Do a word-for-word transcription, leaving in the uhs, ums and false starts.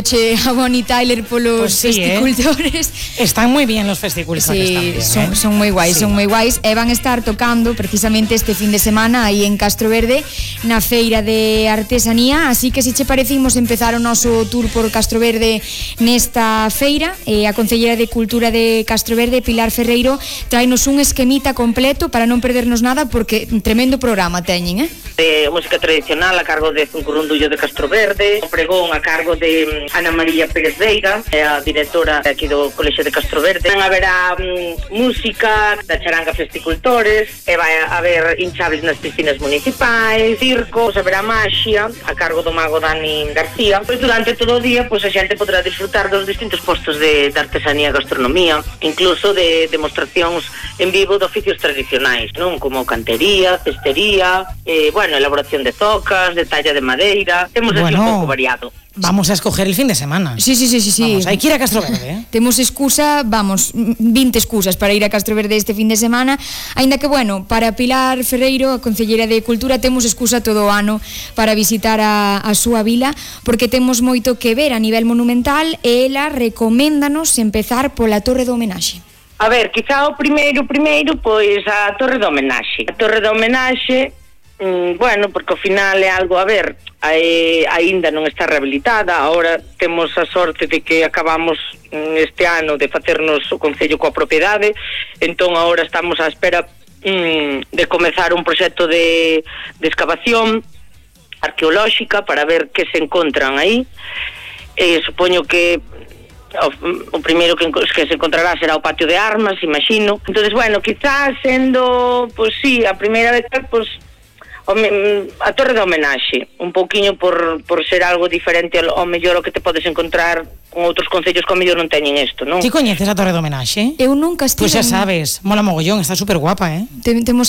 Che a Bonnie Tyler polos Pues sí, festicultores. ¿eh? Están moi bien los festicultores Sí, tamén, son, ¿eh? son moi guais, Sí. son moi guais e van estar tocando precisamente este fin de semana aí en Castro Verde na feira de artesanía, así que se che parece imos empezar o noso tour por Castro Verde nesta feira. E a Concellera de Cultura de Castro Verde, Pilar Ferreiro, traenos un esquemita completo para non perdernos nada, porque un tremendo programa teñen, eh? De música tradicional a cargo de Zuncurundullo de Castro Verde, o pregón a cargo de Ana María Pérez Veiga, é a directora aquí do Colexio de Castro Verde. Haberá um, música da charanga Festicultores, e vai haber hinchables nas piscinas municipais, circos, haberá maxia a cargo do mago Dani García. Pois durante todo o día, pois a xente poderá disfrutar dos distintos postos de, de artesanía e gastronomía, incluso de demostracións en vivo de oficios tradicionais, non? Como cantería, cestería, eh, bueno, elaboración de zocas, de talla de madeira. Temos así Bueno, un pouco variado. Vamos a escoger el fin de semana. Sí, sí, sí, sí, sí. Vamos, hai que ir a Castro Verde, eh? Temos excusa, vamos, vinte excusas para ir a Castro Verde este fin de semana. Aínda que, bueno, para Pilar Ferreiro, a Concellera de Cultura, temos excusa todo o ano para visitar a, a súa vila, porque temos moito que ver a nivel monumental e ela recoméndanos empezar pola Torre do Homenaxe. A ver, quizá o primeiro, primeiro, pois a Torre do Homenaxe. A Torre do Homenaxe, mm, bueno, porque ao final é algo, a ver, eh, aínda non está rehabilitada. Agora temos a sorte de que acabamos mm, este ano de facernos o Concello coa propiedade, entón agora estamos á espera mm, de comezar un proxecto de, de excavación arqueolóxica para ver que se encontran aí. Eh, supoño que O, o primeiro que, que se encontrará será o patio de armas, imagino. Entonces, bueno, quizás sendo, pues sí, a primeira vez, pues a Torre de Homenaxe, un pouquiño por, por ser algo diferente ao mellor o que te podes encontrar con outros concellos que ao mellor non teñen isto, non? Ti coñeces a Torre do Homenaxe? Eu nunca estive. Pois pues xa sabes, mola mogollón, está super guapa, eh? Temos